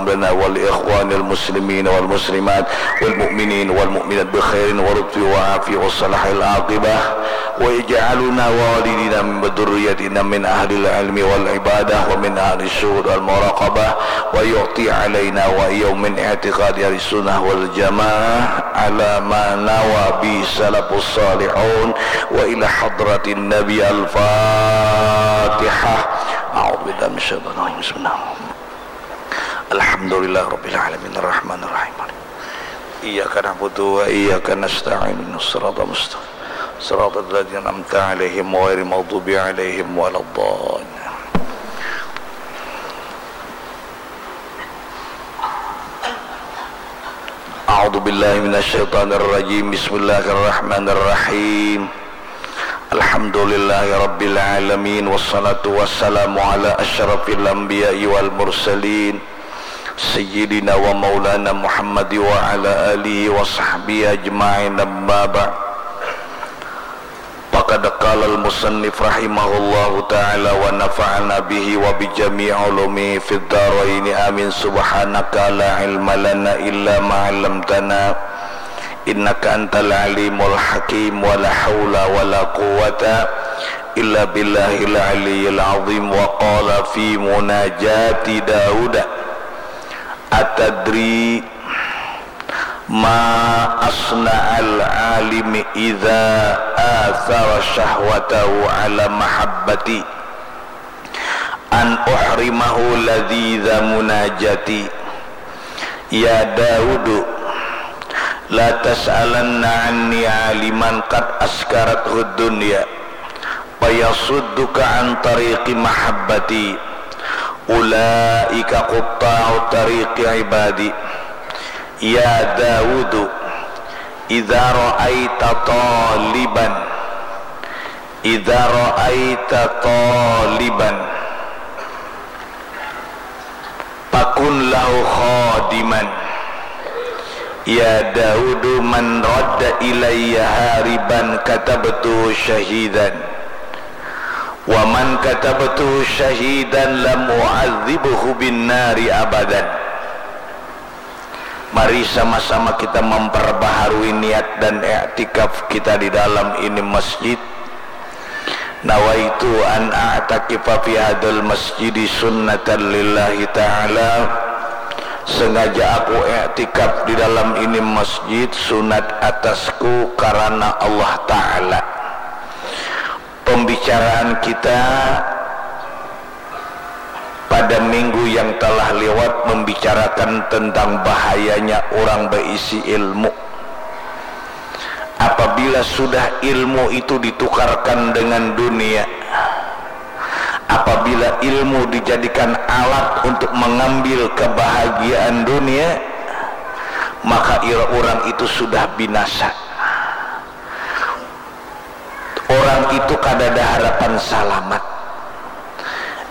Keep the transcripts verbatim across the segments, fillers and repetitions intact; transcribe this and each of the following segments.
لنا ولإخوان المسلمين والمسلمات والمؤمنين والمؤمنات بخير ولطف وعافية وصلاح العاقبة، واجعلنا ووالدينا وذريتنا من أهل العلم والعبادة ومن أهل الشهود والمراقبة، ويعطي علينا وإياهم من اعتقاد أهل السنة والجماعة على ما نوى به السلف الصالحون. وإلى حضرة النبي الفاتحة. أعوذ بالله من الشيطان الرجيم. بسم الله. الحمد لله رب العالمين الرحمن الرحيم. إياك نعبد وإياك نستعين. الصراط المستقيم. صراط الذين أنعمت عليهم غير المغضوب عليهم ولا الضالين. أعوذ بالله من الشيطان الرجيم. بسم الله الرحمن الرحيم. الحمد لله رب العالمين، والصلاة والسلام على أشرف الأنبياء والمرسلين، سيدنا ومولانا محمد وعلى آله وصحبه أجمعين. أما بعد، فقد قال المصنف رحمه الله تعالى ونفعنا به وبجميع علومه في الدارين، آمين. سبحانك لا علم لنا إلا ما علمتنا، إنك أنت العليم الحكيم. ولا حول ولا قوة إلا بالله العلي العظيم. وقال في مناجاة داود: أتدري ما أصنع العالم إذا آثر شهوته على محبتي، أن أحرمه لذيذ مناجاتي. يا داود، لا تسألن عني عالما قد أسكرته الدنيا فيصدك عن طريق محبتي، أولئك قطاع طريق عبادي. يا داود، إذا رأيت طالبا، إذا رأيت طالبا، فكن له خادما. يا داود، من رد إلي هاربا كتبته شهيدا، ومن كتبته شهيدا لم أعذبه بالنار أبدا. Mari sama-sama kita memperbaharui niat dan iktikaf kita di dalam ini masjid. Nawaitu an a'takifa fi hadzal masjidi sunnatan lillahi ta'ala. Sengaja aku iktikaf di dalam ini masjid, sunat atasku karena Allah Ta'ala. Pembicaraan kita pada minggu yang telah lewat membicarakan tentang bahayanya orang berisi ilmu. Apabila sudah ilmu itu ditukarkan dengan dunia, apabila ilmu dijadikan alat untuk mengambil kebahagiaan dunia, maka orang itu sudah binasa. Orang itu kadada harapan salamat.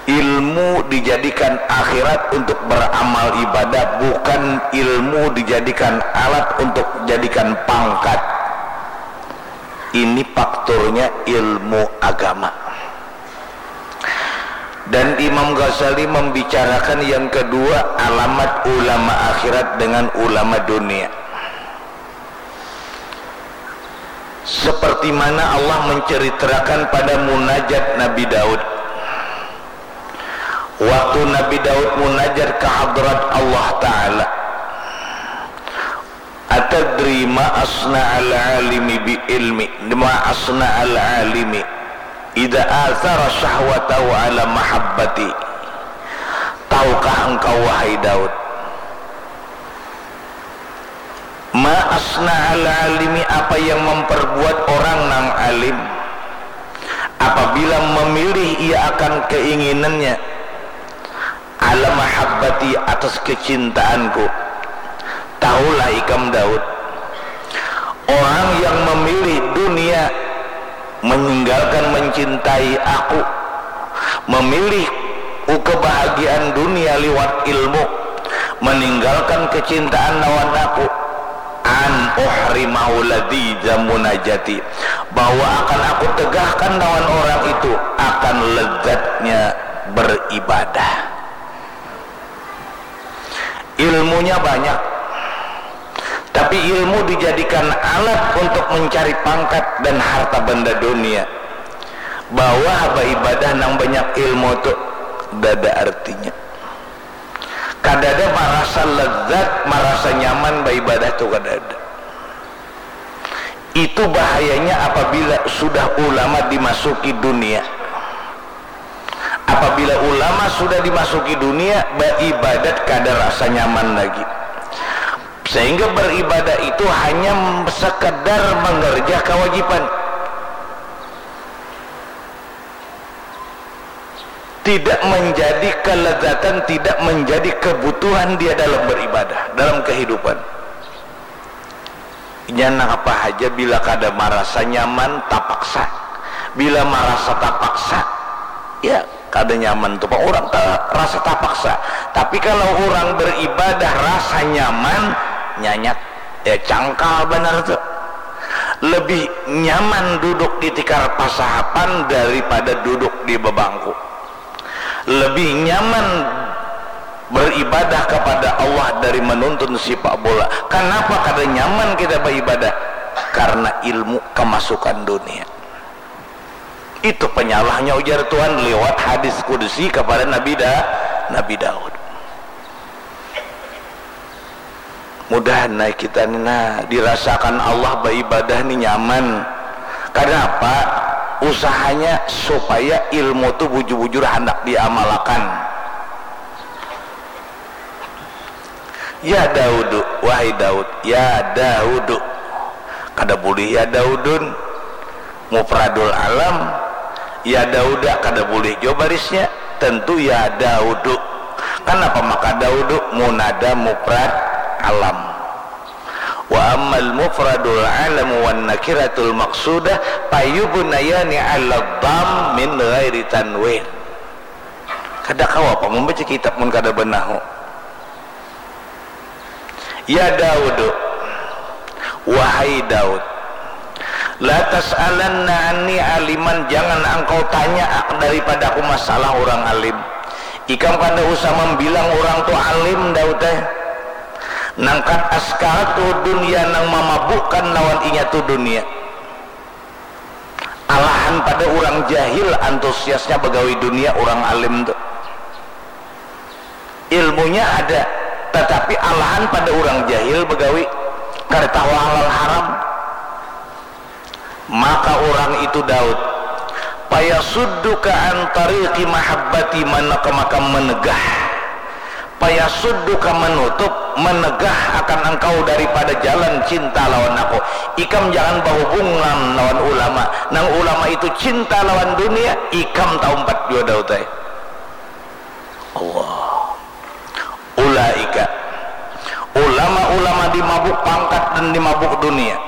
Ilmu dijadikan akhirat untuk beramal ibadah, bukan ilmu dijadikan alat untuk jadikan pangkat. Ini faktornya ilmu agama. Dan Imam Ghazali membicarakan yang kedua, alamat ulama akhirat dengan ulama dunia. Seperti mana Allah menceritakan pada munajat Nabi Daud. Waktu Nabi Daud munajat ke hadrat Allah Ta'ala. Atadri ma asna'al alimi bi ilmi, ma asna'al alimi idza athara syahwatahu ala mahabbati. Tahukah engkau, wahai Daud, ma asna'al alimi, apa yang memperbuat orang nang alim apabila memilih ia akan keinginannya, ala mahabbati, atas kecintaanku. Tahulah ikam, Daud, orang yang memilih dunia meninggalkan mencintai aku, memilih kebahagiaan dunia liwat ilmu, meninggalkan kecintaan lawan aku, an uhrimahu ladzi munajati, bahwa akan aku tegahkan lawan orang itu akan lezatnya beribadah. Ilmunya banyak, tapi ilmu dijadikan alat untuk mencari pangkat dan harta benda dunia. Bahwa baibadah nang banyak ilmu tu dada artinya. Kadada marasa lezat, marasa nyaman baibadah tu kadada. Itu bahayanya apabila sudah ulama dimasuki dunia. Apabila ulama sudah dimasuki dunia, baibadat kada rasa nyaman lagi. Sehingga beribadah itu hanya sekedar mengerja kewajiban. Tidak menjadi kelezatan, tidak menjadi kebutuhan dia dalam beribadah, dalam kehidupan. Inya nang apa haja bila kada marasa nyaman, tapaksa. Bila marasa tapaksa, ya kada nyaman tu pang urang ta-, rasa tapaksa. Tapi kalau urang beribadah rasa nyaman, nyanyak, ya cangkal banar tu. Lebih nyaman duduk di tikar pasahapan daripada duduk di bebangku. Lebih nyaman beribadah kepada Allah dari menuntun sipak bola. Kanapa kada nyaman kita baibadah? Karena ilmu kemasukan dunia. Itu penyalahnya, ujar Tuhan lewat hadis qudsi kepada Nabi Da-, Nabi Daud. Mudahan nah kita ni nah dirasakan Allah baibadah ni nyaman. Kanapa? Usahanya supaya ilmu tu bujur-bujur handak diamalakan. Ya Daudu, wahai Daud, ya Daudu. Kada bulih ya Daudun. Mufradul alam, ya Dauda kada bulih jua barisnya, tentu ya Daudu. Kanapa maka Daudu? Munada mufrad alam. Wa ammal mufradul alam wan nakiratul maqsudah fayubnayani ala dham min ghairi tanwin. Kada kawa pang membaca kitab mun kada banahu. Ya Daud, wahai Daud, la tas'alanna anni aliman, jangan engkau tanya ak-, daripadaku masalah urang alim. Ikam kada usah mambilang urang tu alim, Daud eh. Nang kad askaratu dunya, nang mamabukkan lawan inya tu dunia. Alahan pada urang jahil antusiasnya bagawi dunia urang alim tu. Ilmunya ada, tatapi alahan pada urang jahil bagawi, kada tahu halal haram. Maka urang itu Daud, payasudduka an tariqi mahabbati, manaka maka menegah, payasudduka menutup, menegah akan engkau daripada jalan cinta lawan aku. Ikam jangan bahubungan lawan ulama. Nang ulama itu cinta lawan dunia, ikam taumpat jua Daud ai. Allah. Ulaika. Ulama-ulama dimabuk pangkat dan dimabuk dunia.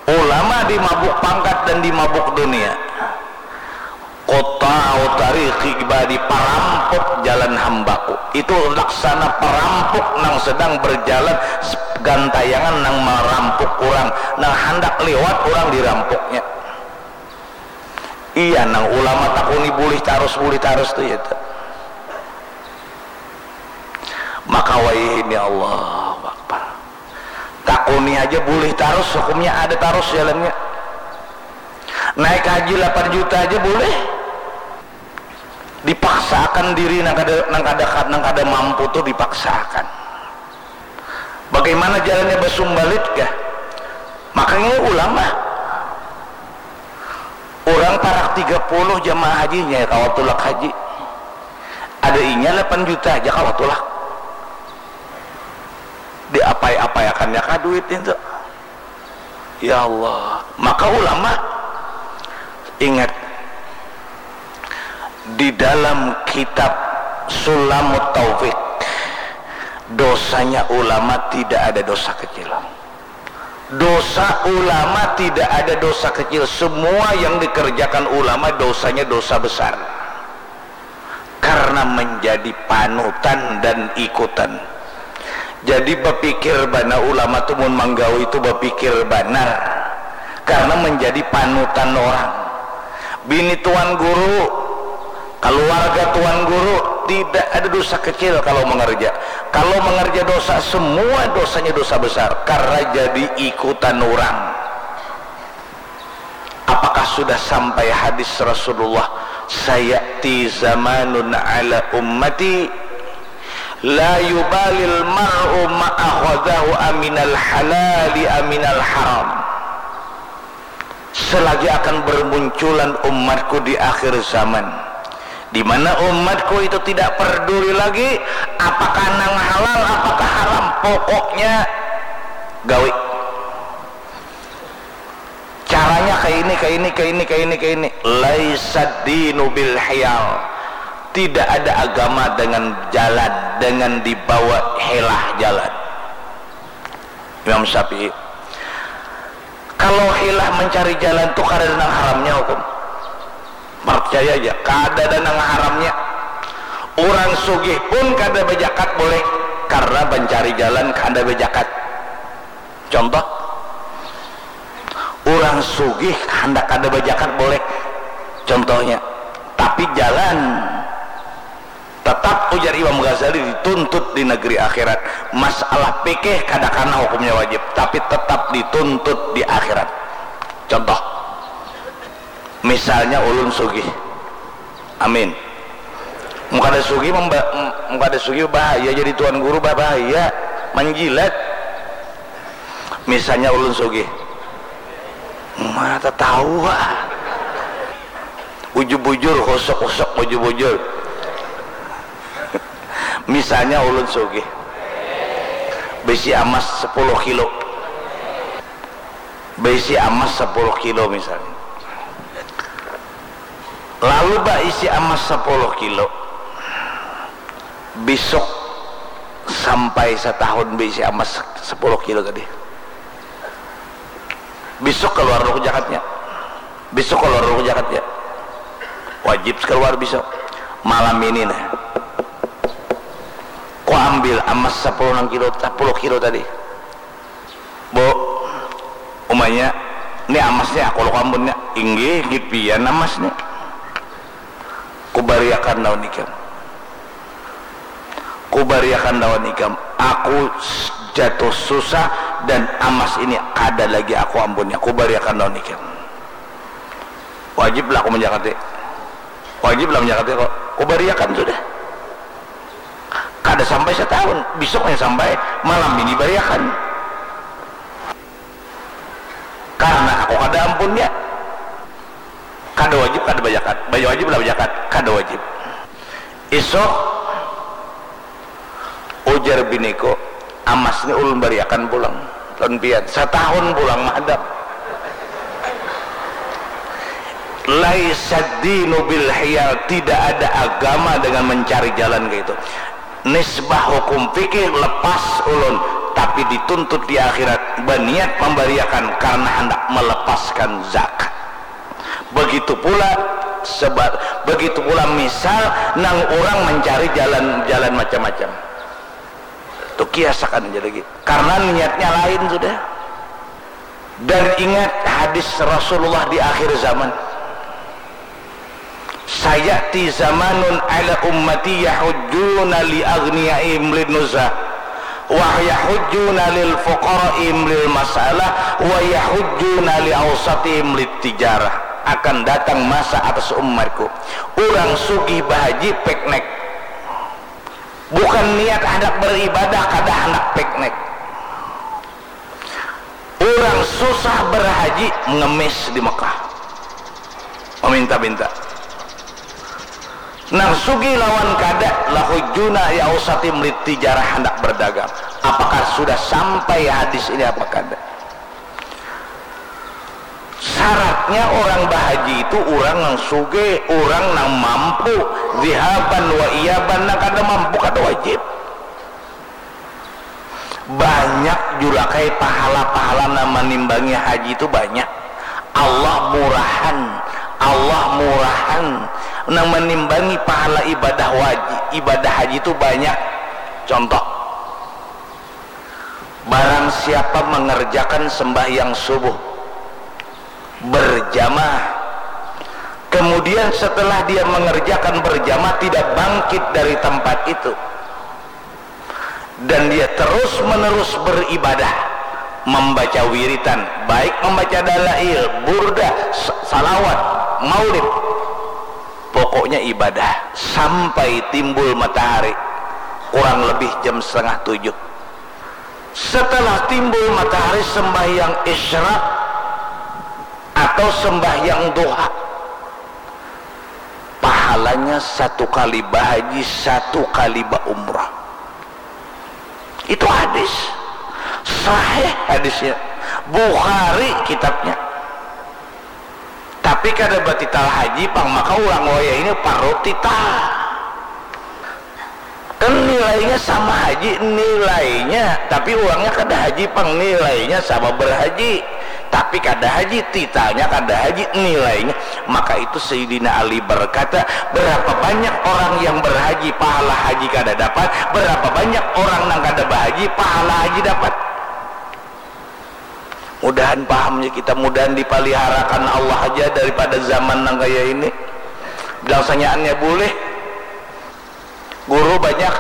Ulama dimabuk pangkat dan dimabuk dunia. Qutta'u tariqi ibadi, parampuk jalan hambaku. Itu laksana parampuk nang sedang berjalan s-, gantayangan nang marampuk urang, nang handak liwat urang dirampuknya. Iya, nang ulama takuni bulih tarus, bulih tarus tu ya tu. Maka wayahini, Allahu Akbar. Takuni haja bulih tarus, hukumnya ada tarus jalannya. Naik haji lapan juta aja bulih. Dipaksaakan diri nang kada, nang kada, nang kada mampu tu dipaksaakan. Bagaimana jalannya basumbalit kah? Makanya ulama. Urang parak tiga puluh jamaah hajinya kawa tulak haji. Ada inya lapan juta aja kawa tulak. Diapai-apaiakannya kah duit itu? Ya Allah. Maka ulama, ingat, di dalam kitab Sulamut Taufik, dosanya ulama tidak ada dosa kecil. Dosa ulama tidak ada dosa kecil. Semua yang dikerjakan ulama dosanya dosa besar. Karena menjadi panutan dan ikutan. Jadi bapikir banar ulama tu mun manggawi tu bapikir banar. Karena menjadi panutan orang. Bini tuan guru, keluarga tuan guru, tidak ada dosa kecil kalau mengerja. Kalau mengerja dosa, semua dosanya dosa besar karena jadi ikutan orang. Apakah sudah sampai hadis Rasulullah, "Sayati zamanun ala ummati la yubalil mar'u ma'akhadahu aminal halali aminal haram." Selagi akan bermunculan umatku di akhir zaman, di mana umatku itu tidak peduli lagi apakah nang halal, apakah haram, pokoknya gawi. Caranya kayak ini, kayak ini, kayak ini, kayak ini, kayak ini. Laisad dinu bil hiyal. Tidak ada agama dengan jalan, dengan dibawa helah jalan. Imam Syafi'i. Kalau hilah mencari jalan tu kada ada nang haramnya hukum. Percaya aja, kada ada nang haramnya. Orang sugih pun kada bajakat boleh karena mencari jalan kada bajakat. Contoh, orang sugih handak kada bajakat boleh. Contohnya, tapi jalan tetap, ujar Imam Ghazali, dituntut di negeri akhirat. Masalah fikih kada kana hukumnya wajib, tapi tetap dituntut di akhirat. Contoh, misalnya ulun sugih, amin. Mun kada sugih memba-, mun kada sugih bahaya, jadi tuan guru bahaya, menjilat. Misalnya ulun sugih, mata tawa. Bujur-bujur, husuk-husuk, bujur-bujur. Misalnya ulun sugih, bisi amas sepuluh kilo, bisi amas sepuluh kilo misalnya. Lalu baisi amas sepuluh kilo, besok sampai setahun baisi amas sepuluh kilo tadi. Besok keluar dulu jakatnya. Besok keluar dulu jakatnya. Wajib keluar besok. Malam ini nah, ku ambil amas sepuluh nang kilo, sepuluh kilo tadi. Bu, umanya, ni amasnya aku lo kampunnya. Inggih, inggih pian amasnya. Kubariakan lawan ikam. Kubariakan lawan ikam. Aku s-, jatuh susah dan amas ini kada lagi aku ampunnya. Kubariakan lawan ikam. Wajiblah aku menjakati. Wajiblah menjakati kok. Kubariakan sudah. Kada sampai setahun, besoknya sampai, malam ini bariakan. Karena aku kada ampunnya. Kada wajib, kada bajakat. Baya wajib lah bajakat, kada wajib. Isuk, ujar biniku, amas ni ulun bariakan pulang lawan pian. Satahun pulang mahadap. Laisad dinu bil hiyal, tidak ada agama dengan mencari jalan kayak itu. Nisbah hukum fikih lepas ulun, tapi dituntut di akhirat, baniat membariakan karena hendak melepaskan zakat. Begitu pula seba-, begitu pula misal nang orang mencari jalan-jalan macam-macam. Tu kiasakan aja lagi. Karena niatnya lain sudah. Dan ingat hadis Rasulullah di akhir zaman. Sayati zamanun ala ummati yahujjuna li aghniyaihim lin nuzah, wa yahujjuna lil fuqaraihim lil masalah, wa yahujjuna li ausatihim lit tijarah. Akan datang masa atas umatku, orang sugih bahaji piknik. Bukan niat hendak beribadah, kada hendak piknik. Orang susah berhaji, mengemis di Mekah, meminta-minta. Nang sugih lawan kada, lahujuna ya usatim litijarah, hendak berdagang. Apakah sudah sampai hadis ini apa kada? Syaratnya orang bahaji itu orang nang sugih, orang nang mampu, zihaban wa iyaban. Nang kada mampu kada wajib. Banyak jurakai pahala-pahala nang manimbangi haji itu banyak. Allah murahan, Allah murahan nang manimbangi pahala ibadah wajib, ibadah haji itu banyak. Contoh, barang siapa mengerjakan sembahyang subuh berjamaah, kemudian setelah dia mengerjakan berjamaah tidak bangkit dari tempat itu, Dan dia terus-menerus beribadah, membaca wiritan, baik membaca dalail, burdah, salawat, maulid, pokoknya ibadah sampai timbul matahari, kurang lebih jam setengah tujuh. Setelah timbul matahari, sembahyang isyraq atau sembahyang duha, pahalanya satu kali bahaji, satu kali baumrah. Itu hadis sahih, hadisnya Bukhari kitabnya. Tapi kada batital haji pang, maka ulang wayah ini parlu tital. Kan nilainya sama haji, nilainya, tapi uangnya kada haji pang, nilainya sama berhaji. Tapi kada haji, titalnya kada haji, nilainya. Maka itu Sayyidina Ali berkata, berapa banyak orang yang berhaji, pahala haji kada dapat, berapa banyak orang nang kada bahaji, pahala haji dapat. Mudahan pahamnya kita, mudahan dipaliharakan Allah aja daripada zaman nang kaya ini. Bilang sanyaannya boleh. Guru banyak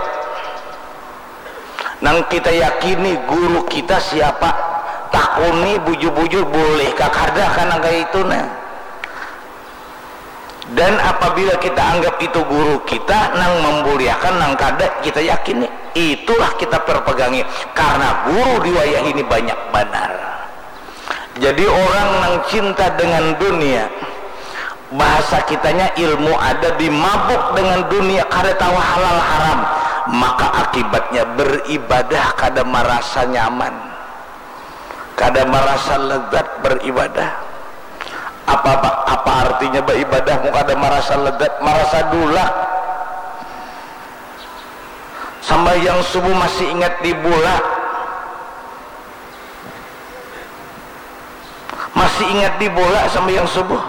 nang kita yakini guru kita siapa, takuni bujur-bujur, boleh kah kada kan nang kaya itu nah. Dan apabila kita anggap itu guru kita nang membuliakan, nang kada kita yakini, itulah kita perpegangi, karena guru di wayah ini banyak banar. Jadi orang nang cinta dengan dunia, bahasa kitanya ilmu ada, dimabuk dengan dunia, kada tahu halal haram, maka akibatnya beribadah kada marasa nyaman, kada marasa lezat beribadah. Apa, apa, apa artinya beribadah mun kada marasa lezat, marasa dulak? Sambahyang subuh masih ingat di bola. Masih ingat di bola sambil yang subuh.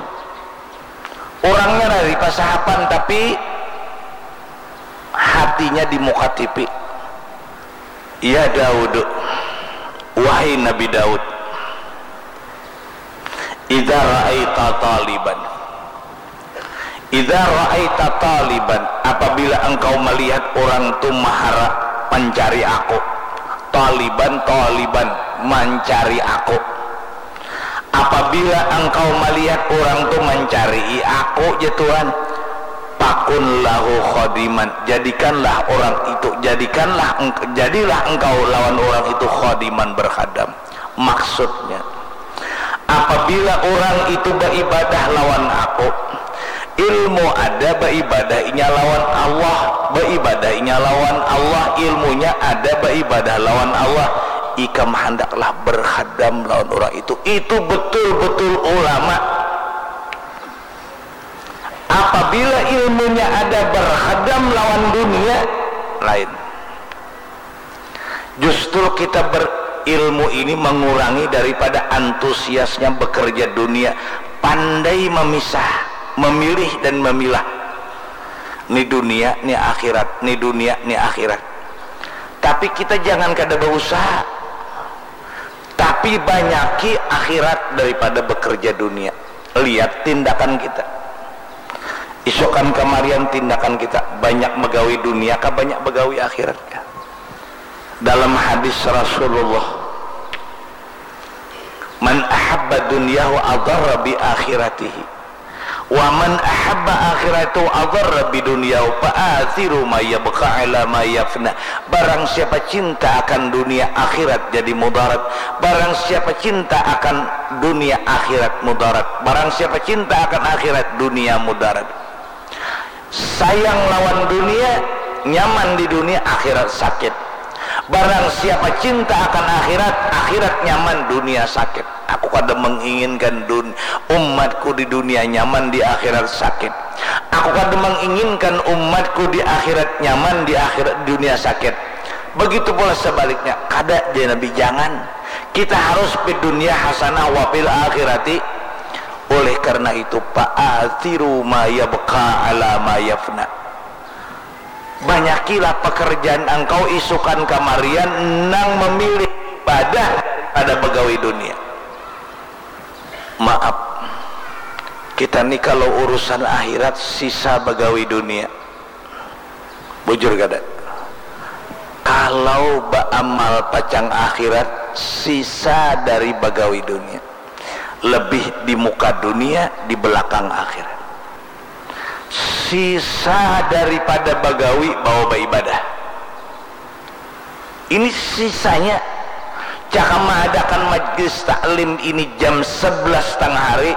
Orangnya dari pasahapan tapi hatinya di muka T V. Ya Daud, wahai Nabi Daud, idza ra'aita taliban, idza ra'aita taliban, apabila engkau melihat orang tu mahara mencari aku, taliban, taliban, mencari aku. Apabila engkau melihat orang tu mencari aku, ja Tuhan, pakun lahu khodiman, jadikanlah orang itu, jadikanlah jadilah engkau lawan orang itu khodiman, berkhadam. Maksudnya, apabila orang itu beribadah lawan aku, ilmu ada beribadah inya lawan Allah, beribadah inya lawan Allah, ilmunya ada beribadah lawan Allah, ikam handaklah berkhadam lawan orang itu. Itu betul-betul ulama. Apabila ilmunya ada berkhadam lawan dunia, lain. Justru kita berilmu ini mengurangi daripada antusiasnya bekerja dunia. Pandai memisah, memilih dan memilah. Ni dunia, ni akhirat, ni dunia, ni akhirat. Tapi kita jangan kada berusaha. Tapi banyaki akhirat daripada bekerja dunia. Lihat tindakan kita. Isukan kamarian tindakan kita, banyak begawi dunia kah, banyak begawi akhirat kah? Dalam hadis Rasulullah, man ahabba dunyahu adarra bi akhiratihi, wa man ahabba akhiratahu adarra bi dunyahu, fa athiru ma yabqa ala ma yafna. Barang siapa cinta akan dunia, akhirat jadi mudarat. Barang siapa cinta akan dunia, akhirat mudarat. Barang siapa cinta akan akhirat, dunia mudarat. Sayang lawan dunia, nyaman di dunia, akhirat sakit. Barang siapa cinta akan akhirat, akhirat nyaman, dunia sakit. Aku kada menginginkan dun umatku di dunia nyaman, di akhirat sakit. Aku kada menginginkan umatku di akhirat nyaman, di akhirat dunia sakit. Begitu pula sebaliknya, kada, jar Nabi, jangan. Kita harus fid dunya hasanah wa fil akhirati. Oleh karena itu, fa athiru ma yabqa ala ma yafna. Banyakilah pekerjaan engkau isukan kamarian nang memilih ibadah daripada begawi dunia. Maaf, kita ni kalau urusan akhirat sisa begawi dunia. Bujur kada? Kalau baamal pacang akhirat, sisa dari bagawi dunia. Lebih di muka dunia, di belakang akhirat. Sisa daripada bagawi bawa baibadah. Ini sisanya. Cakam maadakan majlis taklim ini jam sebelas tengah hari,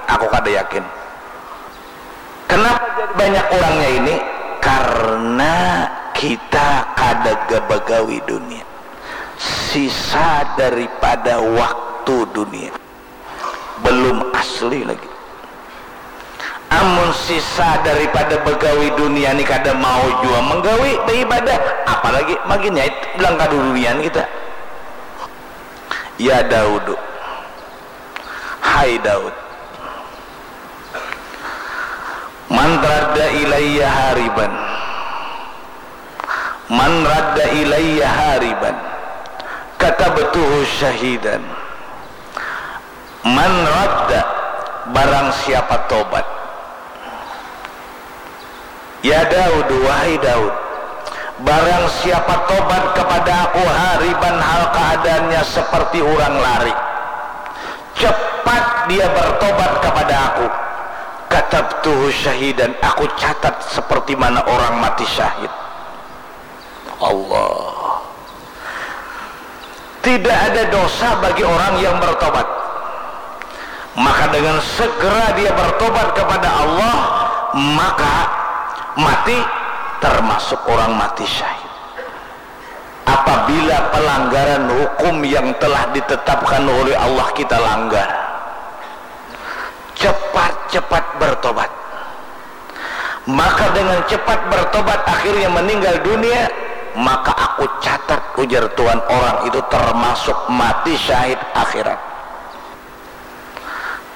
aku kada yakin. Kenapa jadi banyak orangnya ini? Karena kita kada gabagawi dunia. Sisa daripada waktu dunia. Belum asli lagi. Amun sisa daripada bagawi dunia ni kada mau jua menggawi beribadah, apalagi makin nyait bilang kadudunian kita. Ya Daudu, hai Daud, man radda ilayya hariban, man radda ilayya hariban, katabtuhu syahidan. Man radda, barang siapa tobat. Ya Daud, wahai Daud, barang siapa tobat kepada aku hariban hal keadaannya seperti orang lari, cepat dia bertobat kepada aku, katabtuhu syahidan, aku catat seperti mana orang mati syahid. Allah. Tidak ada dosa bagi orang yang bertobat. Maka dengan segera dia bertobat kepada Allah, maka mati termasuk orang mati syahid. Apabila pelanggaran hukum yang telah ditetapkan oleh Allah kita langgar, cepat-cepat bertobat. Maka dengan cepat bertobat akhirnya meninggal dunia, maka aku catat, ujar Tuhan, orang itu termasuk mati syahid akhirat.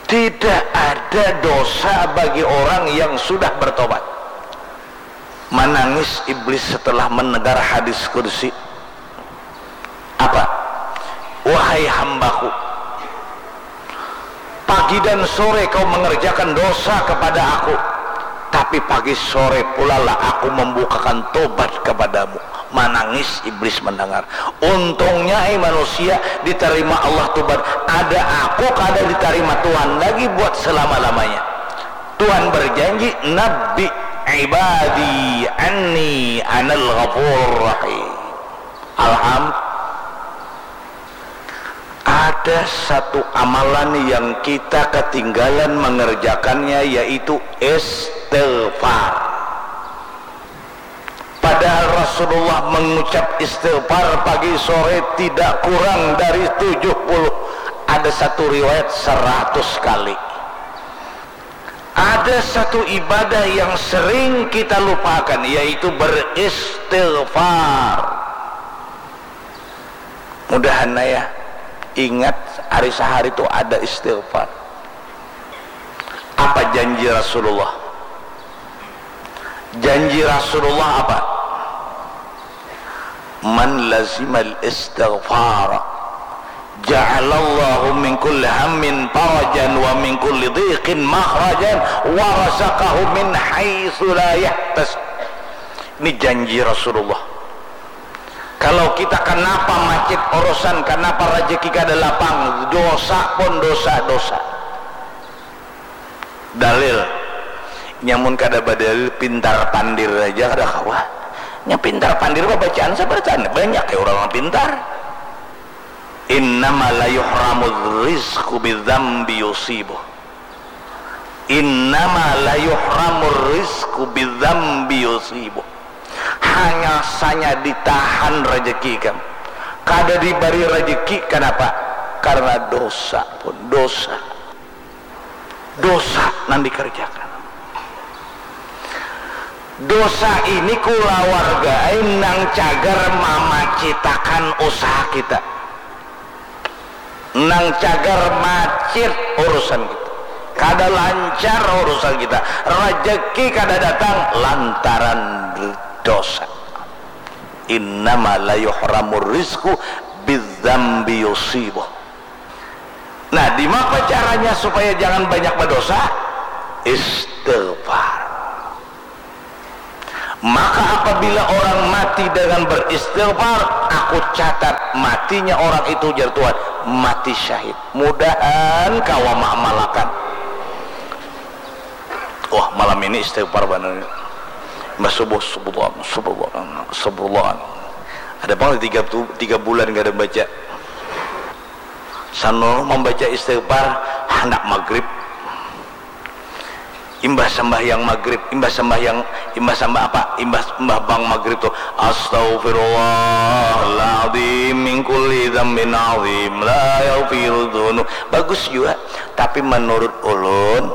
Tidak ada dosa bagi orang yang sudah bertobat. Manangis iblis setelah mendengar hadis kursi. Apa? Wahai hambaku, pagi dan sore kau mengerjakan dosa kepada aku, tapi pagi sore pulalah aku membukakan tobat kepadamu. Manangis iblis mendengar. Untungnya ai manusia, diterima Allah tobat. Ada aku kada diterima Tuhan lagi buat selama-lamanya. Tuhan berjanji, nabbi ibadi anni anal ghafurur rahim. Alham. Ada satu amalan yang kita ketinggalan mengerjakannya, yaitu istighfar. Padahal Rasulullah mengucap istighfar pagi sore tidak kurang dari tujuh puluh, ada satu riwayat seratus kali. Ada satu ibadah yang sering kita lupakan, yaitu beristighfar. Mudahan ya, ingat hari sehari itu ada istighfar. Apa janji Rasulullah? Janji Rasulullah apa? Man lazimal istighfar ja'alallahu min kulli hammin farajan wa min kulli dhiqin makhrajan wa razaqahu min haitsu la yahtasib. Ini janji Rasulullah. Kalau kita kenapa macit urusan, kenapa rezeki kada lapang, dosa pun dosa-dosa. Dalil, nyamun kada badalil, pintar pandir aja kada kawa. Nya pintar pandir babacaan sabar tanda banyak ya orang pintar. Innama la yuhramur rizqu bidzambi yusibuh. Innama la yuhramur rizqu bidzambi yusibuh. Hanya saja ditahan rezeki ikam. Kada diberi rezeki, kenapa? Karena dosa pun dosa. Dosa nang dikerjakan. Dosa ini kulawarga ai nang cagar mamacitakan usaha kita. Nang cagar macit urusan kita. Kada lancar urusan kita. Rezeki kada datang lantaran dosa. Innama la yuhramur rizqu bidzambi yusibuh. Nah, dimapa caranya supaya jangan banyak berdosa? Istighfar. Maka apabila orang mati dengan beristighfar, aku catat matinya orang itu, jar Tuhan, mati syahid. Mudahan kawa maamalakan. Wah, malam ini istighfar banar. Mbah subuh, astagfirullah, astagfirullah, astagfirullah. Ada pang tiga, tiga bulan kada baca. Sanur membaca istighfar handak maghrib. Imbah sambahyang maghrib, imbah sambahyang, imbah sambah apa? Imbah, imbah bang maghrib tu, "Astaghfirullahaladzim min kulli dzambin azim, la yaghfiru dzunub." Bagus jua, tapi menurut ulun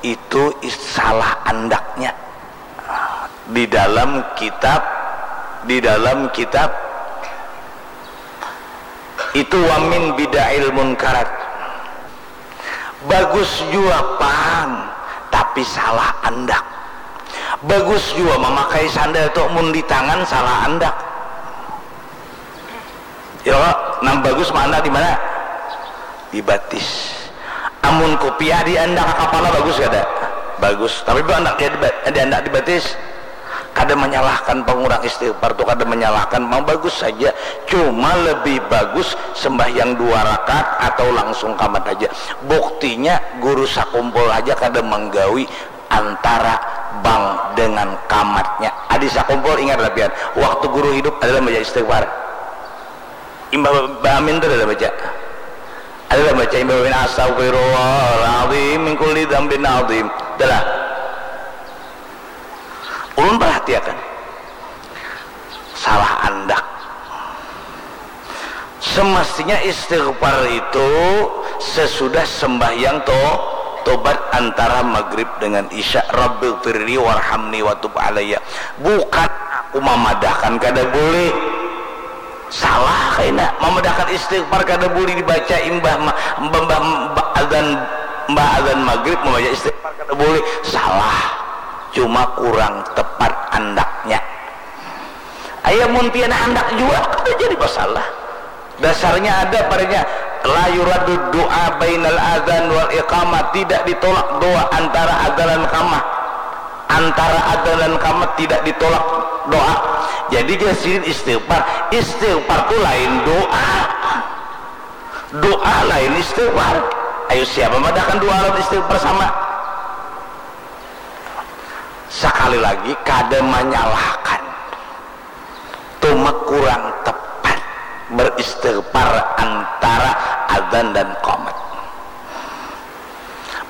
itu is-, salah andaknya. Di dalam kitab, di dalam kitab itu, wa min bida'il munkarat. Bagus jua pang, tapi salah andak. Bagus jua mamakai sandal tu, mun di tangan salah andak. Ya, nang bagus maandak di mana? Di batis. Amun kupiah diandak ka kapala, bagus kada? Bagus. Tapi andak di, diandak di batis. Kada menyalahkan pang urang istighfar tu, kada menyalahkan pang, bagus saja. Cuma lebih bagus sembahyang dua rakaat atau langsung kamat haja. Buktinya guru sakumpul haja kada manggawi antara bang dengan kamatnya. Adi sakumpul, ingat lah pian, waktu guru hidup adalah baca istighfar. Imbah ba-, baamin tu adalah baca. Adalah baca imbah baamin, "Astaghfirullahaladzim min kulli dzambin azim." Adalah. Ulun perhatiakan. Salah andak. Semestinya istighfar itu sesudah sembahyang to-, tobat antara maghrib dengan isya. "Rabbighfirli warhamni wa tub alayya." Bukan aku mamadahkan kada boleh. Salah kaina. Mamadahkan istighfar kada boleh dibaca imbah ma-, imbah, imbah, imbah adzan, imbah adzan maghrib membaca istighfar kada boleh. Salah. Cuma kurang tepat andaknya. Aya mun pian handak jua, kada jadi masalah. Dasarnya ada padanya, "La yuraddu du'a bainal adzan wal iqamah," tidak ditolak doa antara adzan dan iqamah. Antara adzan dan iqamah tidak ditolak doa. Jadi, jar sidin istighfar. Istighfar tu lain doa. Doa lain istighfar. Ayo, siapa madahkan doa lawan istighfar sama? Sakali lagi, kada manyalahkan. Cuma kurang tepat beristighfar antara adzan dan qomat.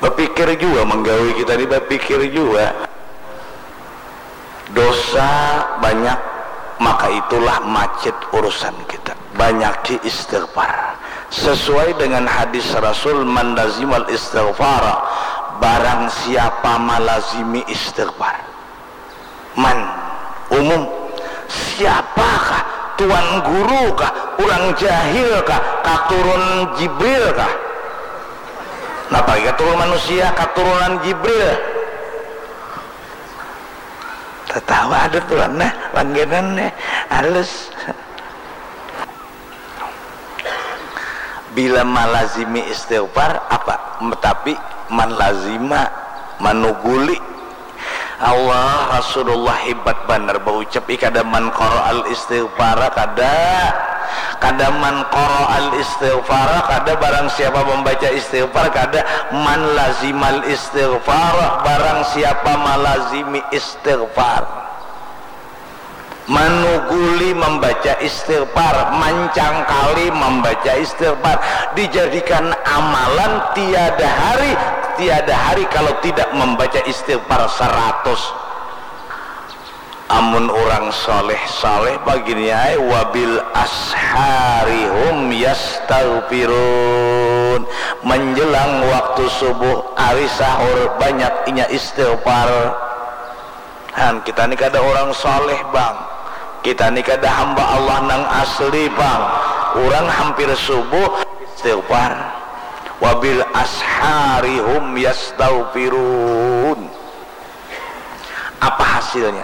Bapikir jua, manggawi kita ni bapikir jua. Dosa banyak, maka itulah macet urusan kita. Banyaki istighfar. Sesuai dengan hadis Rasul, "Man lazimal istighfara," barang siapa malazimi istighfar. Man, umum. Siapakah? Tuan guru kah? Urang jahil kah? Katurun Jibril kah? Napa lagi katurun manusia, katurunan Jibril? Tatawa ada tuan nah, langganan nih, halus. Bila malazimi istighfar, apa? Tapi man lazima, manuguli. Allah, Rasulullah hebat banar baucap, ih, kada man qara'al istighfara, kada. Kada man qara'al istighfara, kada, barang siapa membaca istighfar, kada. Man lazimal istighfara, barang siapa malazimi istighfar. Manuguli membaca istighfar, mancangkali membaca istighfar, dijadikan amalan, tiada hari, tiada hari kalau tidak membaca istighfar seratus. Amun urang saleh-saleh bagini ai, "Wabil ashari hum yastaghfirun." Menjelang waktu subuh, ari sahur, banyak inya istighfar. Han, kita ni kada urang saleh, Bang. Kita ni kada hamba Allah nang asli, Bang. Urang hampir subuh istighfar. "Wabil ashari hum yastaghfirun." Apa hasilnya?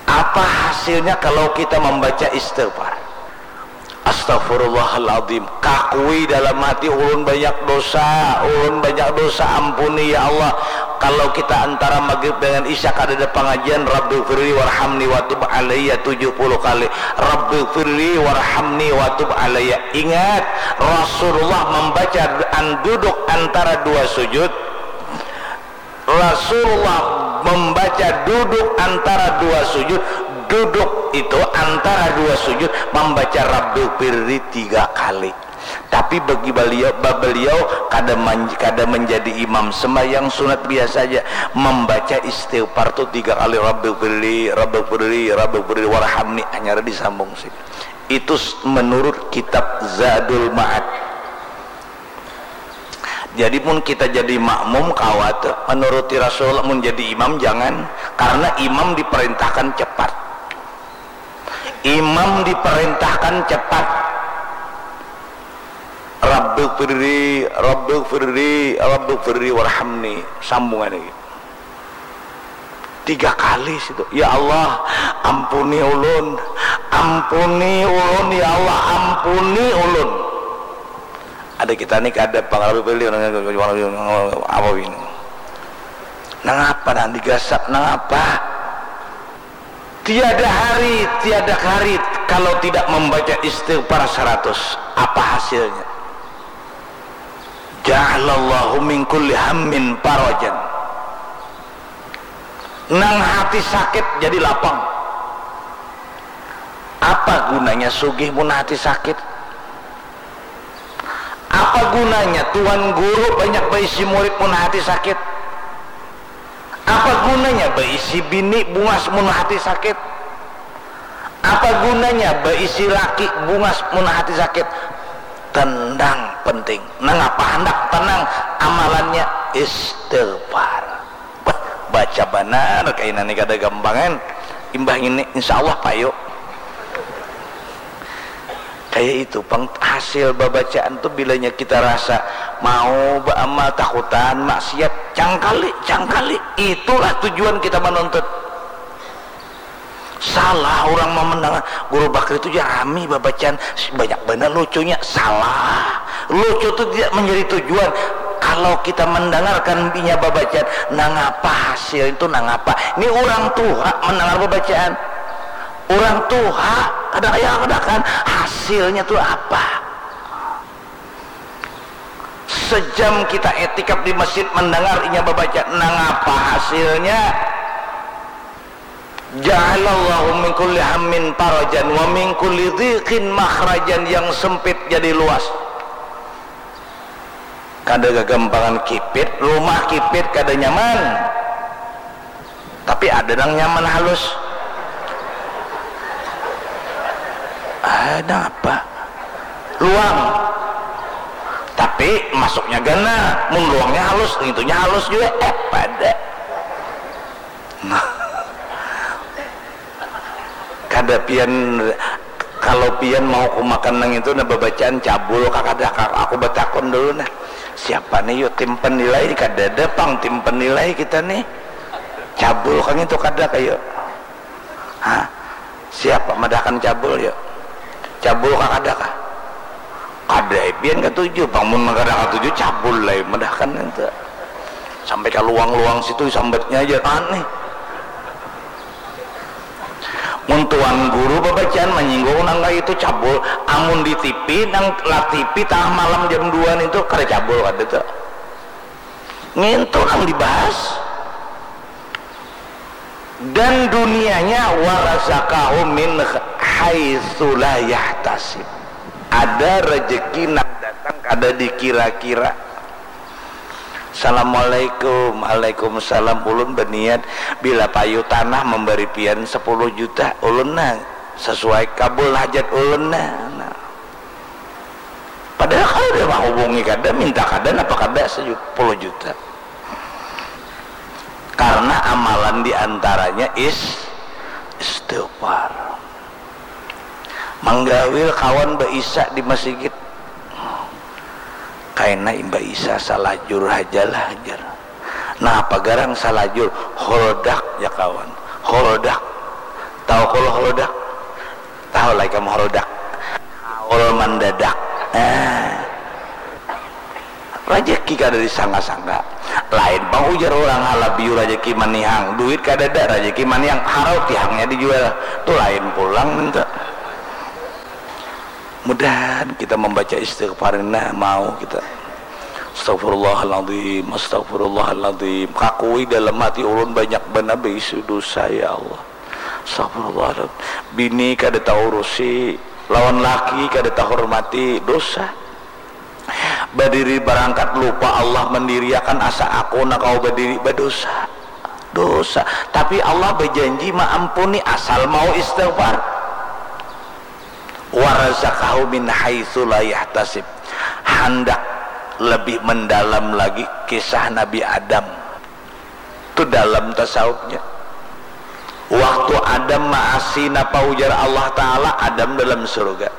Apa hasilnya kalau kita membaca istighfar? Astaghfirullahaladzim. Kakui dalam hati, ulun banyak dosa, ulun banyak dosa, ampuni ya Allah. Kalau kita antara maghrib dengan isya kadada pangajian, Rabbighfirli warhamni watub alayya tujuh puluh kali. Rabbighfirli warhamni watub alayya. Ingat, Rasulullah membaca an-, duduk antara dua sujud. Rasulullah membaca duduk antara dua sujud. Duduk itu antara dua sujud membaca Rabbighfirli tiga kali. Tapi bagi beliau, beliau kada, kada menjadi imam sembahyang sunat biasa aja, membaca istighfar tu tiga kali, Rabbighfirli, Rabbighfirli, Rabbighfirli warhamni, hanyar disambung sih. Itu menurut kitab Zadul Ma'ad. Jadi mun kita jadi makmum, kawat menuruti Rasulullah, mun jadi imam jangan, karena imam diperintahkan cepat. Imam diperintahkan cepat. Rabbighfirli, Rabbighfirli, Rabbighfirli warhamni. Sambungan lagi. Tiga kali situ. Ya Allah, ampuni ulun. Ampuni ulun, ya Allah, ampuni ulun. Ada kita ni kada pang Rabbighfirli, apa ini? Nangapa nang digasak, nangapa? Tiada hari, tiada hari kalau tidak membaca istighfar seratus. Apa hasilnya? Ja'alallahu min kulli hammin farajan. Nang hati sakit jadi lapang. Apa gunanya sugih mun hati sakit? Apa gunanya tuan guru banyak baisi murid mun hati sakit? Apa gunanya baisi bini bungas mun hati sakit? Apa gunanya baisi laki bungas mun hati sakit? Tenang penting. Nangapa handak tenang? Amalannya istighfar. Bah, baca banar kaina ni, kada gampangan. Imbah ngini, insya Allah payu. Kaya itu pang hasil babacaan tu, bilanya kita rasa mau baamal, takutan maksiat, cangkali, cangkali. Itulah tujuan kita manuntut. Salah urang mau mendangar, Guru Bakri tu ja rami babacaan, banyak banar lucunya. Salah. Lucu tu tidak menjadi tujuan. Kalau kita mendengarkan inya babacaan, nangapa hasil itu, nangapa? Ini urang tuha mendengar babacaan. Urang tuha, kada kaya kada kan, hasilnya tu apa? Sejam kita etikaf di masjid mendengar inya babaca, nangapa hasilnya? Ja'alallahu min kulli hammin farajan wa min kulli dhiqin makhrajan, yang sempit jadi luas. Kada gagampangan kipit, rumah kipit kada nyaman. Tapi ada nang nyaman halus. Ada apa? Luang. Tapi masuknya gana, mun luangnya halus, itunya halus juga. Eh, pada. Nah. Kada pian, kalau pian mau kumakan nang itu, nah, babacaan cabul kah kada kah? Aku batakun dulu nah. Siapa nih yuk tim penilai? Kadada pang tim penilai kita nih. Cabul kah itu kada kah yuk? Hah? Siapa madahkan cabul yuk? Cabul kah kada kah? Kada, eh, pian katuju pang, mun kada katuju cabul lai madahkan itu. Sampai ka luang-luang situ sambatnya aja aneh. Mun tuan guru babacaan manyinggung nang kaya itu cabul, amun di T V nang la T V tangah malam jam dua itu kada cabul kada tu. Ngintu nang dibahas. Dan dunianya warazaqahu min haitsu la yahtasib. Ada rezeki nang datang kada dikira-kira. Assalamualaikum. Waalaikumsalam. Ulun baniat bila payu tanah memberi pian sepuluh juta. Ulun nah sesuai kabul hajat ulun nah. Nah. Padahal kada mahubungi kada, minta kada, napa kada sepuluh juta. Karena amalan diantaranya is istighfar. Manggawil kawan baisa di masigit. Kaina imbah isa salajur hajalah jar. Napa garang salajur? Holdak ya kawan. Holdak. Tahu kalo holdak? Tahu lah ikam holdak. Mandadak. Nah, rajaki kada disangka-sangka. Lain pang ujar urang halabiu rajaki manihang, duit kadada rajaki manihang, harau tihangnya dijual. Tu lain pulang minta. Mudahan kita membaca istighfar ini nah, mau kita. Astagfirullahaladzim, astagfirullahaladzim. Kakui dalam hati ulun banyak banar baisi dosa ya Allah. Astagfirullahaladzim. Bini kada taurusi, lawan laki kada tahormati, dosa. Badiri barangkat lupa Allah mandiriakan asa aku nak kawa badiri, badosa. Dosa. Tapi Allah bajanji maampuni asal mau istighfar. Warazaqahu min haitsu la yahtasib. Handak lebih mendalam lagi kisah Nabi Adam. Tu dalam tasawufnya. Waktu Adam maasi napa ujar Allah Ta'ala, Adam dalam surga.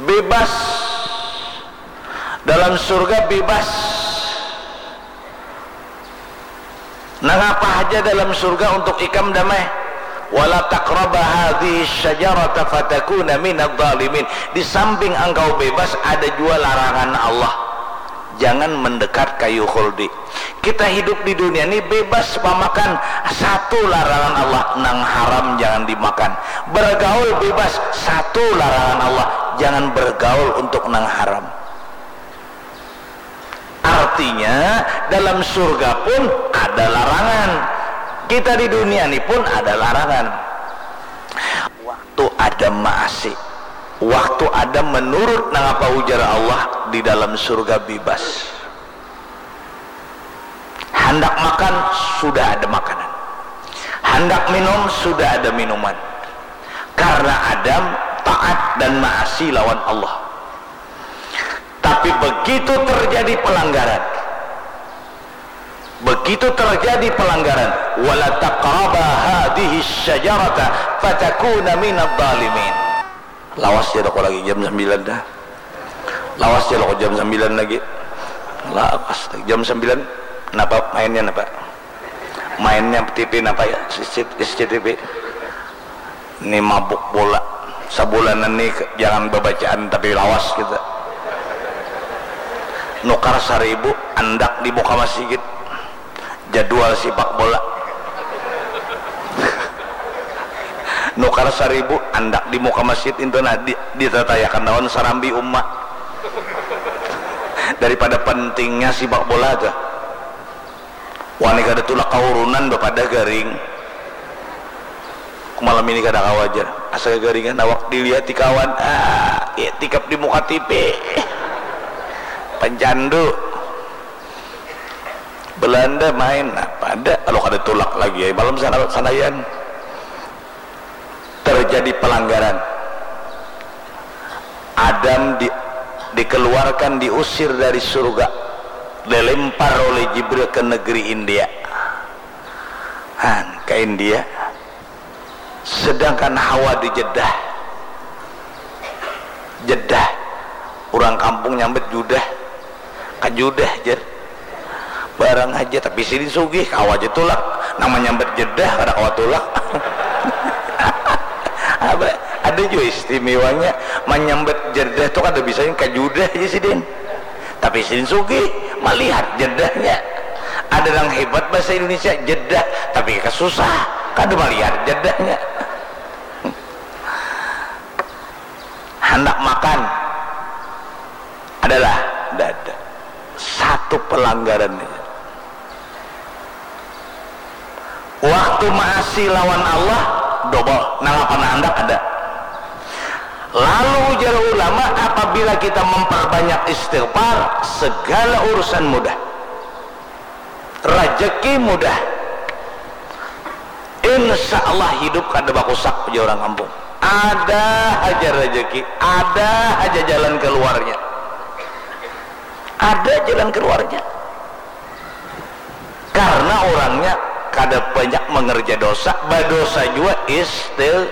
Bebas. Dalam surga bebas. Nangapa haja dalam surga untuk ikam damai. Wala taqraba hadhihi syajarata fatakuna minadh dhalimin. Di samping engkau bebas ada jua larangan Allah. Jangan mendekat kayu khuldi. Kita hidup di dunia ini bebas pamakan, satu larangan Allah, nang haram jangan dimakan. Bergaul bebas, satu larangan Allah, jangan bergaul untuk nang haram. Artinya dalam surga pun ada larangan. Kita di dunia ini pun ada larangan. Waktu Adam maasi, waktu Adam menurut nangapa ujar Allah, di dalam surga bebas. Handak makan, sudah ada makanan. Handak minum, sudah ada minuman. Karena Adam taat dan maasi lawan Allah. Tapi begitu terjadi pelanggaran, begitu terjadi pelanggaran, wala taqraba hadhihi syajarata fatakuna minadh dhalimin. Lawas jar aku lagi jam sambilan dah. Lawas jar aku jam sambilan lagi. Lawas jam sambilan. Napa mainnya napa? Mainnya T V napa ya? C C T V. Ni mabuk bola. Sabulanan ni ke- jangan babacaan tapi lawas kita. Nukar saribu andak di muka masjid. Jadwal sipak bola. Nukar saribu andak di muka masjid intu nah di, ditatayakan lawan sarambi uma. Daripada pentingnya sipak bola tuh. Wani kada tulak kaurunan bapadah garing. Malam ini kada kawa jar. Asa gagaringan awak dilihati kawan. Ah, iktikaf di muka T V. Pencandu. Belanda main. Nah, pada kalau kada tulak lagi ya. Malam sana sanayan. Terjadi pelanggaran. Adam di, dikeluarkan, diusir dari surga, dilempar oleh Jibril ke negeri India. Han, ke India. Sedangkan Hawa di Jeddah. Jeddah. Orang kampung nyambat judah. Kajudah jar. Barang aja, tapi sidin sugih, kawa aja tulak. Nang manyambat Jeddah kada kawa tulak. Apa? Ada juga istimewanya, manyambat Jeddah tu kada bisa, kajudah aja sidin. Tapi sidin sugih, malihat Jeddahnya. Ada nang hebat bahasa Indonesia, Jeddah, tapi kasusah, kada malihat Jeddahnya. Handak makan, adalah dada. Satu pelanggaran aja. Waktu maasi lawan Allah, double. Nangapa nang handak ada. Lalu ujar ulama, apabila kita memperbanyak istighfar, segala urusan mudah. Rajaki mudah. Insya Allah hidup kada bakusak, ujar orang kampung. Ada haja rajaki, ada haja jalan keluarnya. Ada jalan keluarnya. Karena orangnya kada banyak mengerja dosa, badosa jua istil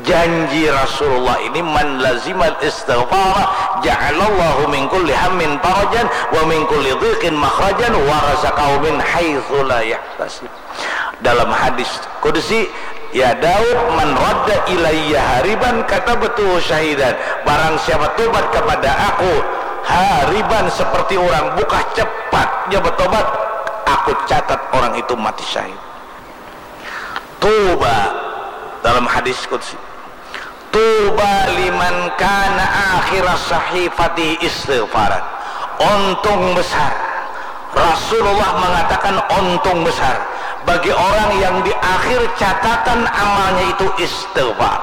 janji Rasulullah ini, "Man lazimal istighfara ja'alallahu min kulli hammin farajan wa min kulli dhiqin makhrajan wa razaqahu min haitsu la yahtasib." Dalam hadis qudsi, Ya Daud, man radda ilayya hariban katabtuhu syahidan. Barang siapa tobat kepada aku, hariban, seperti orang bukah, cepatnya bertobat, aku catat orang itu mati syahid. Tuba, dalam hadis qudsi, tuba liman kana akhira sahifati istighfaran. Untung besar. Rasulullah mengatakan untung besar bagi orang yang di akhir catatan amalnya itu istighfar.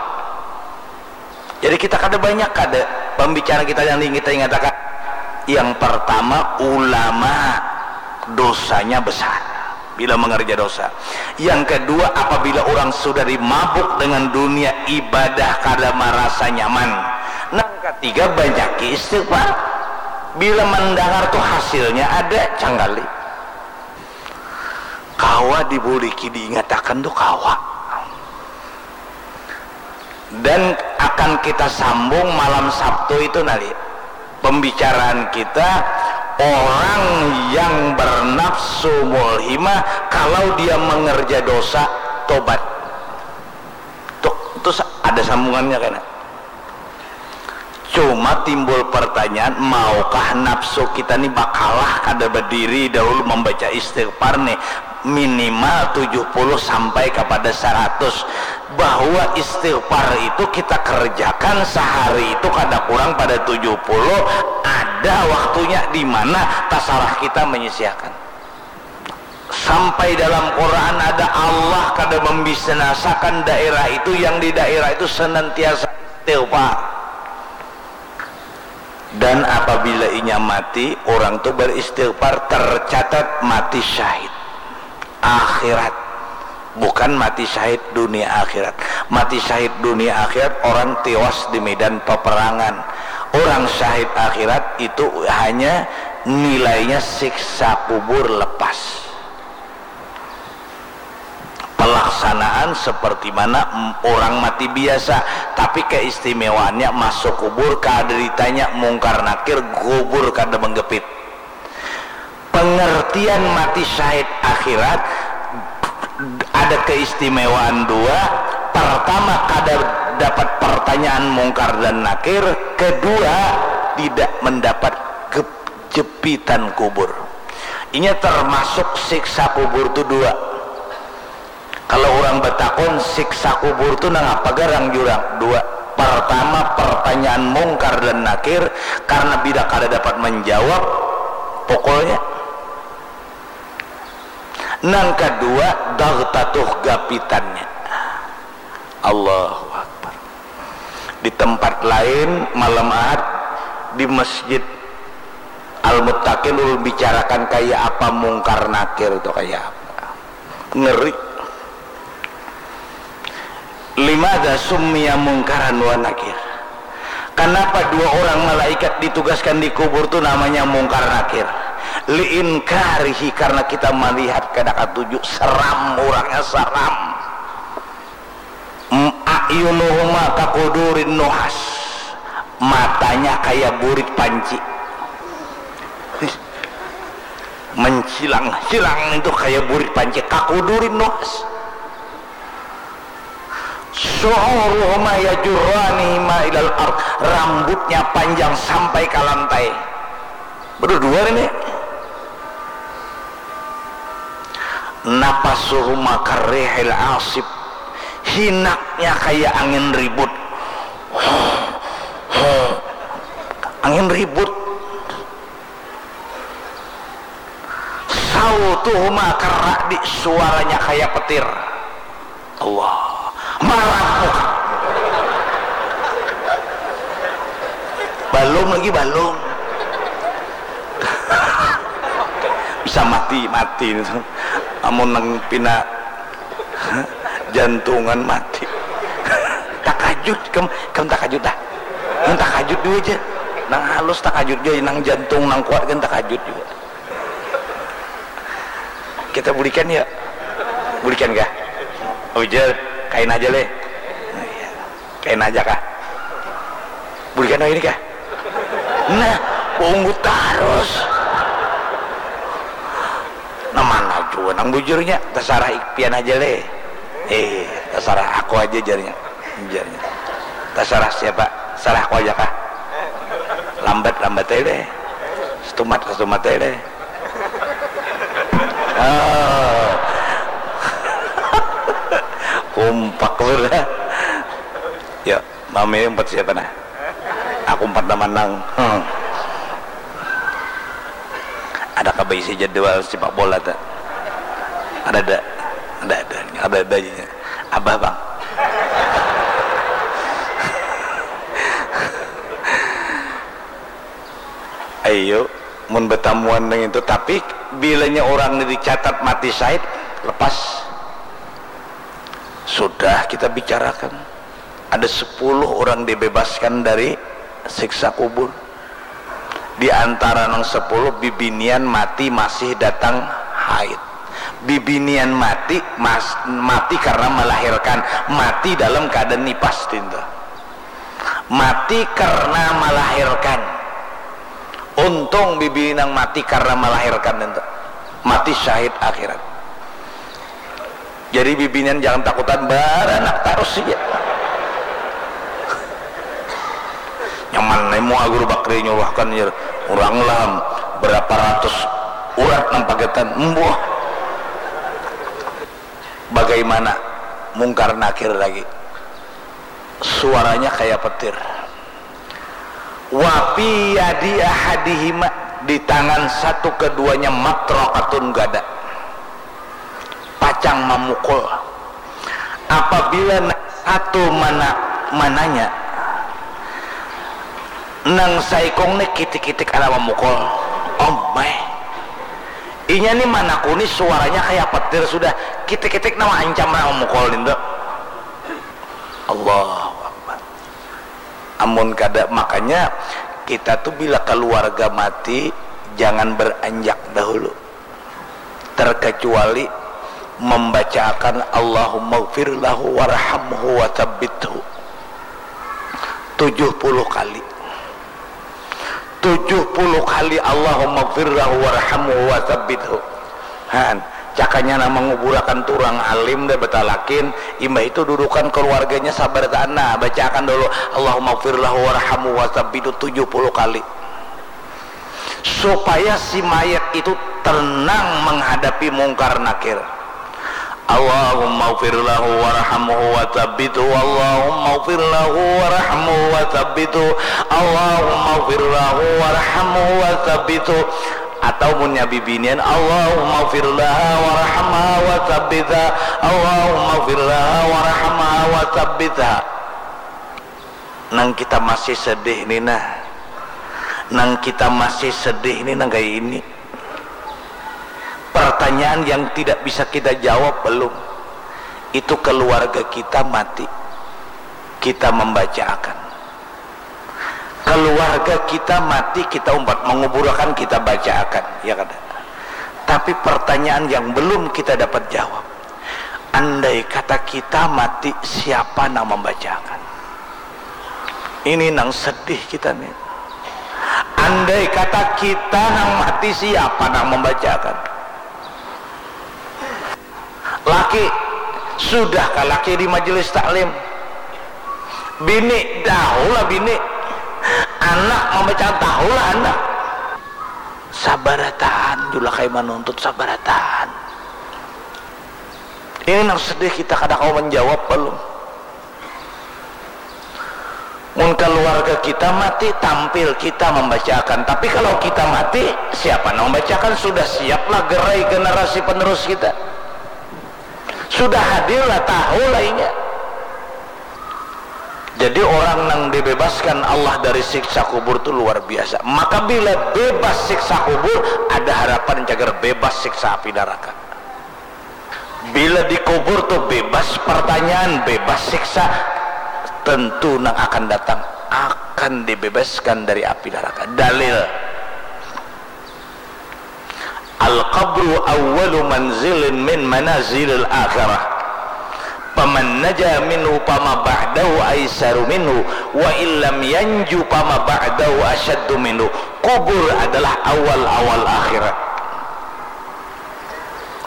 Jadi kita kada banyak kada pembicara kita yang ingin kita ingatakan. Yang pertama, ulama dosanya besar bila mengerja dosa. Yang kedua, apabila orang sudah dimabuk dengan dunia, ibadah kada marasa nyaman. Nang ketiga, banyaki istighfar. Bila mendengar tuh hasilnya ada, canggali. Kawa dibuliki diingatakan tuh kawa. Dan akan kita sambung malam Sabtu itu nanti. Pembicaraan kita, orang yang bernafsu mulhimah, kalau dia mengerja dosa, tobat. Tuh, itu sa-, ada sambungannya kan? Cuma timbul pertanyaan, maukah nafsu kita ni bakalah kada berdiri dahulu membaca istighfar nih, minimal tujuh puluh sampai kepada seratus, bahwa istighfar itu kita kerjakan sehari itu kada kurang pada tujuh puluh, ada waktunya di mana tasarah kita menyisiakan. Sampai dalam Quran ada, Allah kada membinasakan daerah itu, yang di daerah itu senantiasa istighfar. Dan apabila inya mati, orang tu beristighfar, tercatat mati syahid akhirat. Bukan mati syahid dunia akhirat. Mati syahid dunia akhirat orang tiwas di medan peperangan. Orang syahid akhirat itu hanya nilainya siksa kubur lepas. Pelaksanaan seperti mana orang mati biasa, tapi keistimewaannya masuk kubur kada ditanya mungkar nakir, kubur kada menggepit. Pengertian mati syahid akhirat ada keistimewaan dua. Pertama, kada dapat pertanyaan mungkar dan nakir. Kedua, tidak mendapat jepitan kubur. Inya termasuk siksa kubur tu dua. Kalau orang batakun, siksa kubur tu nang apa garang jurang? Dua. Pertama, pertanyaan mungkar dan nakir, karena bila kada dapat menjawab, pukulnya. Nang kedua, dagtatuh gapitannya. Allahu Akbar. Di tempat lain, malam Ahad, di Masjid Al-Muttaqin, ulun bicarakan kaya apa mungkar nakir tu, kaya apa. Ngeri. Limada summiya mungkaran wa nakir? Kenapa dua orang malaikat ditugaskan di kubur tu namanya mungkar nakir? Liinkarihi, karena kita melihat kada katuju, seram, orangnya seram. A'yunuhuma kakudurin nuhas, matanya kaya burit panci. Mencilang-cilang itu kaya burit panci, kakudurin nuhas. Syu'uruhuma yajurranihima ilal ard, rambutnya panjang sampai ke lantai. Berdua ini. Napasuhuma karrihil asib, hinaknya kaya angin ribut. Angin ribut. Sautuhuma karra'di, suaranya kaya petir. Allah, marah muka. Balum lagi, balum. Bisa mati, mati. Amun nang pina jantungan mati. Takajut, kam, kam takajut dah. Nang takajut dulu aja. Nang halus takajut aja, nang jantung, nang kuat kan takajut juga. Kita bulikan ya. Bulikan kah? Ujar, kain aja leh. Kain aja kah? Bulikan ini kah? Nah, bunggut terus. Nah, mana juga nang bujurnya, terserah ikpian aja leh. Eh. Tasarah aku aja, jarnya. Jarnya. Tasarah siapa? Sarah aku aja kah? Lambat, lambat aja deh. Setumat, setumat aja deh. Ah. Kompak sudah. Ya, mami empat siapa nah? Aku empat nama nang. Hmm. Ada kabaisi jadwal sepak bola tak? Ada ada. Ada ada. Ada ada aja. Abah bang. Ayo, mun betamuan dengan itu, tapi bilanya orang ini dicatat mati syahid, lepas. Sudah kita bicarakan. Ada sepuluh orang dibebaskan dari siksa kubur. Di antara nang sepuluh, bibinian mati masih datang haid. Bibinian mati mas, mati karena melahirkan, mati dalam keadaan nipas tinta. Mati karena melahirkan. Untung bibi nang mati karena melahirkan itu. Mati syahid akhirat. Jadi bibinian jangan takutan, baranak tarus saja. Nyaman nemu Guru Bakri nyuruhkan, orang lah berapa ratus urat nang pagetan. Embuh. Bagaimana Mungkar Nakir lagi? Suaranya kayak petir. Wa fi yadi ahadihima, di tangan satu keduanya, matraqatun, gada. Pacang mamukul. Apabila nang satu mana, mananya, nang saikung ni kitik-kitik ada mamukul. Oh my. Inya ni manakuni, suaranya kayak petir sudah. Kitik-kitik nama ancam nak mamukul nintu. Allahu Akbar. Amun kada, makanya kita tu bila keluarga mati, jangan beranjak dahulu. Terkecuali membacaakan Allahumma gfir lahu warhamhu wa tsabbithu tujuh puluh kali. Tujuh puluh kali Allahumma gfir lahu warhamhu wa tsabbithu. Han, cakanya nang manguburakan tu urang alim dah, batalakin, imbah itu dudukan keluarganya sabar tahan. Nah, bacaakan dulu, Allahumma gfir lahu warhamhu wa tsabbithu tujuh puluh kali. Supaya si mayat itu tenang menghadapi Mungkar Nakir. Allahumma gfir lahu warhamhu wa tsabbithu. Allahumma gfir lahu warhamhu wa tsabbithu. Allahumma gfir lahu warhamhu wa tsabbithu. Atau munnya bibinian, Allahumma gfir laha warhamha wa tsabbitha. Allahumma gfir laha warhamha wa tsabbitha. Nang kita masih sedih ni nah. Nang kita masih sedih ni nang kaya ini. Pertanyaan yang tidak bisa kita jawab belum. Itu keluarga kita mati. Kita membacaakan. Keluarga kita mati, kita umpat menguburakan, kita bacaakan. Ya kada? Tapi pertanyaan yang belum kita dapat jawab. Andai kata kita mati, siapa nang membacakan? Ini nang sedih kita nih. Andai kata kita nang mati, siapa nang membacakan? Laki, sudah ka laki di majelis taklim? Bini, tahulah bini. Anak membacakan, tahulah anak. Sabarataan jua kai manuntut, sabarataan. Ini nang sedih, kita kada kawa menjawab belum. Mun keluarga kita mati, tampil kita membacakan. Tapi kalau kita mati, siapa nang membacakan? Sudah siaplah gerai generasi penerus kita. Sudah hadirlah, tahu lainnya. Jadi orang nang dibebaskan Allah dari siksa kubur tu luar biasa. Maka bila bebas siksa kubur, ada harapan cagar bebas siksa api neraka. Bila dikubur tu bebas pertanyaan, bebas siksa, tentu nang akan datang akan dibebaskan dari api neraka. Dalil. Al-qabru awwalu manzilin min manazilil akhirah. Paman naja minhu pama ba'dahu aisaru minhu, wa illam yanju pama ba'dahu asyaddu minhu. Kubur adalah awal-awal akhirat.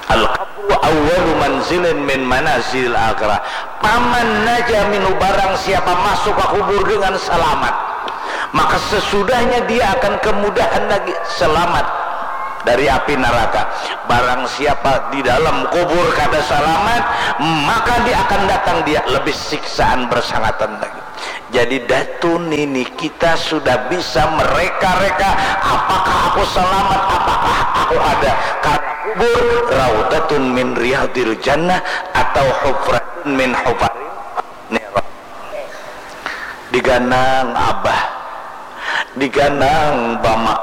Al-qabru Awwalu manzilin min manazil akhirah. Paman naja minhu, barang siapa masuk ke kubur dengan selamat, maka sesudahnya dia akan kemudahan lagi selamat dari api neraka. Barang siapa di dalam kubur kada selamat, maka dia akan datang dia lebih siksaan bersangatan lagi. Jadi datu nini kita sudah bisa mereka-reka apakah aku selamat, apakah aku ada. Karena kubur raudatun min riyadil jannah atau hufratun min hufaril nirah. Diganang abah, diganang bama,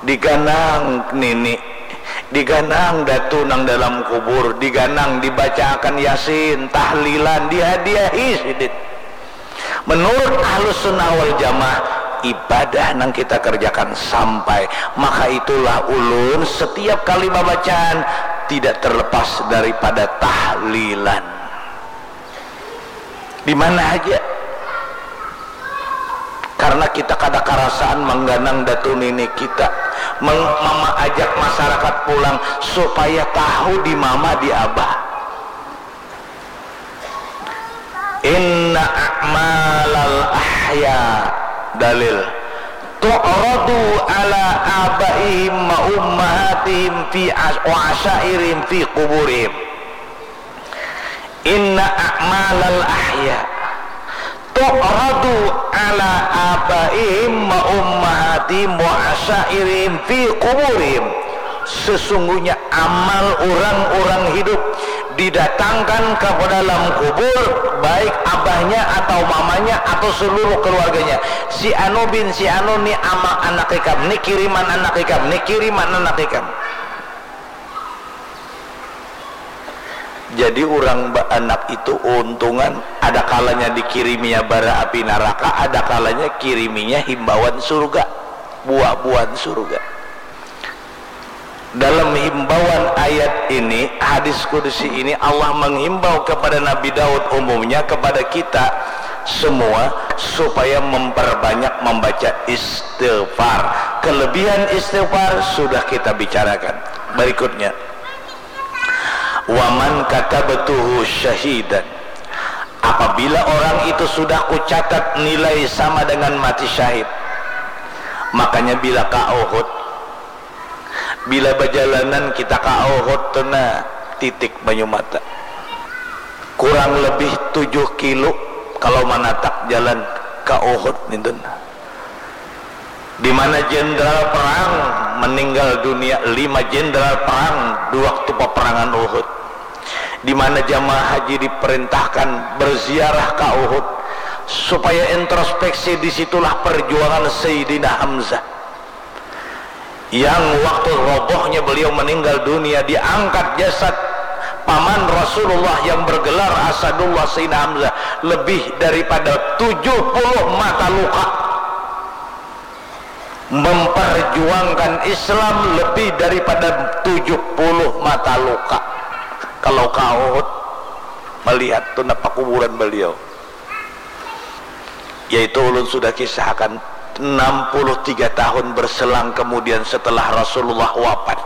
diganang nini, diganang datu nang dalam kubur, diganang dibacaakan yasin, tahlilan, dihadiahi sidin. Menurut Ahlus Sunnah wal Jamaah, ibadah nang kita kerjakan sampai, maka itulah ulun setiap kali babacaan tidak terlepas daripada tahlilan. Di mana aja. Karena kita kada karasaan mengganang datu nini kita, meng- mama ajak masyarakat pulang supaya tahu di mama di abah. Inna a'malal ahya, dalil, tu'radu ala abaihim wa ummahatihim fi as- wa asyairihim fi kuburihim. Inna a'malal ahya tu'radu ala abaihim wa ummahatihim wa asyairihim fi kuburihim. Sesungguhnya amal orang-orang hidup didatangkan ke dalam kubur, baik abahnya atau mamanya atau seluruh keluarganya. Si anu bin si anu ni amal anak ikam, ni kiriman anak ikam, ni kiriman anak ikam. Jadi urang baanak itu untungan, ada kalanya dikiriminya bara api naraka, ada kalanya kiriminya himbauan surga, buah-buahan surga. Dalam himbauan ayat ini, hadis kudusi ini, Allah menghimbau kepada Nabi Daud, umumnya kepada kita semua, supaya memperbanyak membaca istighfar. Kelebihan istighfar sudah kita bicarakan. Berikutnya, waman katabtuhu syahidan. Apabila orang itu sudah kucatat nilai sama dengan mati syahid, makanya bila ka Uhud, bila bajalanan kita ka Uhud tu nah, titik banyu mata. Kurang lebih tujuh kilo kalau manatak jalan ka Uhud nintun. Di mana jenderal perang meninggal dunia, lima jenderal perang di waktu peperangan Uhud. Di mana jamaah haji diperintahkan berziarah ka Uhud supaya introspeksi, di situlah perjuangan Sayyidina Hamzah. Yang waktu robohnya beliau meninggal dunia, diangkat jasad paman Rasulullah yang bergelar Asadullah Sayyidina Hamzah lebih daripada tujuh puluh mata luka. Memperjuangkan Islam lebih daripada tujuh puluh mata luka. Kalau ka Uhud melihat tu napa kuburan beliau. Yaitu ulun sudah kisahkan, enam puluh tiga tahun berselang kemudian setelah Rasulullah wafat,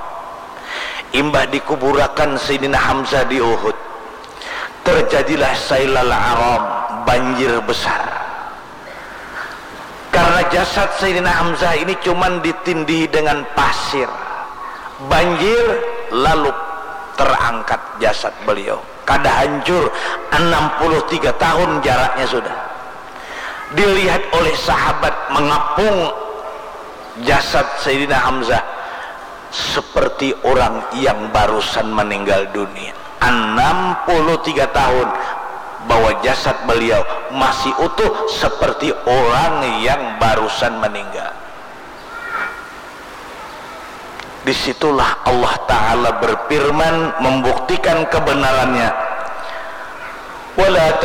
imbah dikuburakan Sayyidina Hamzah di Uhud, terjadilah sailal aram, banjir besar. Karena jasad Sayyidina Hamzah ini cuman ditindihi dengan pasir, banjir, lalu terangkat jasad beliau. Kada hancur, enam puluh tiga tahun jaraknya sudah. Dilihat oleh sahabat mengapung jasad Sayyidina Hamzah seperti orang yang barusan meninggal dunia. Enam puluh tiga tahun bawa jasad beliau, masih utuh seperti orang yang barusan meninggal. Di situlah Allah Ta'ala berfirman membuktikan kebenarannya. Wala